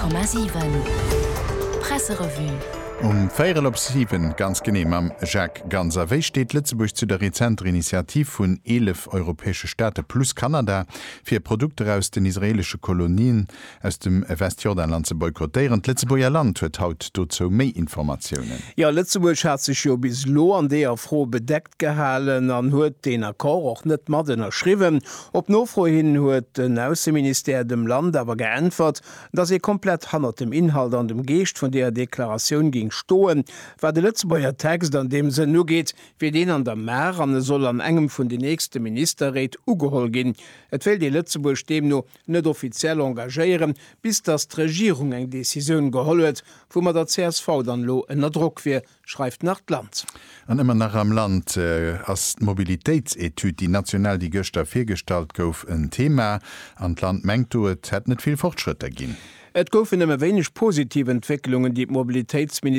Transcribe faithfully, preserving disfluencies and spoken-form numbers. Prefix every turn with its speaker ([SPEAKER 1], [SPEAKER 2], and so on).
[SPEAKER 1] Komma siwen Presserevue.
[SPEAKER 2] Um véierel op siwen ganz genee mam Jacques Ganser. Wéi steet Lëtzebuerg zu der rezenter Initiativ vun eelef europäesche Staate plus Kanada, fir Produkter aus den israeelesche Kolonien aus dem Westjordanland ze boykottéieren? D'Lëtzebuerger Land huet haut dozou méi Informatiounen.
[SPEAKER 3] Jo, Lëtzebuerg hat sech jo bis elo an deeër Fro bedeckt gehalen an huet deen Accord och net mat ënnerschriwwen. Op Nofro hin huet den Ausseministère dem Land awer geäntwert, datt ee komplett hannert dem Inhalt an dem Geescht vun deeër Deklaratioun géing stoen. Wat de Lëtzebuerger Text an deem Sënn ugeet, wier deen an der Maach an e soll an engem vun den nächste Ministerréit ugeholl ginn. Et wéilt ee Lëtzebuerg deemno net offiziell engagéieren, bis datt d'Regierung eng Decisioun geholl huet, woumadder d'CSV dann elo ënner Drock wier, schreift nach d'Land.
[SPEAKER 2] An ëmmer nach am Land ass d'Mobilitéitsetüd, déi national, déi gëschter virgestallt gouf, en Thema. An d'Land mengt do, et hätt net vill Fortschrëtter ginn.
[SPEAKER 3] Et goufen nëmme wéineg positiv Entwécklungen, déi d'Mobilitéitsministesch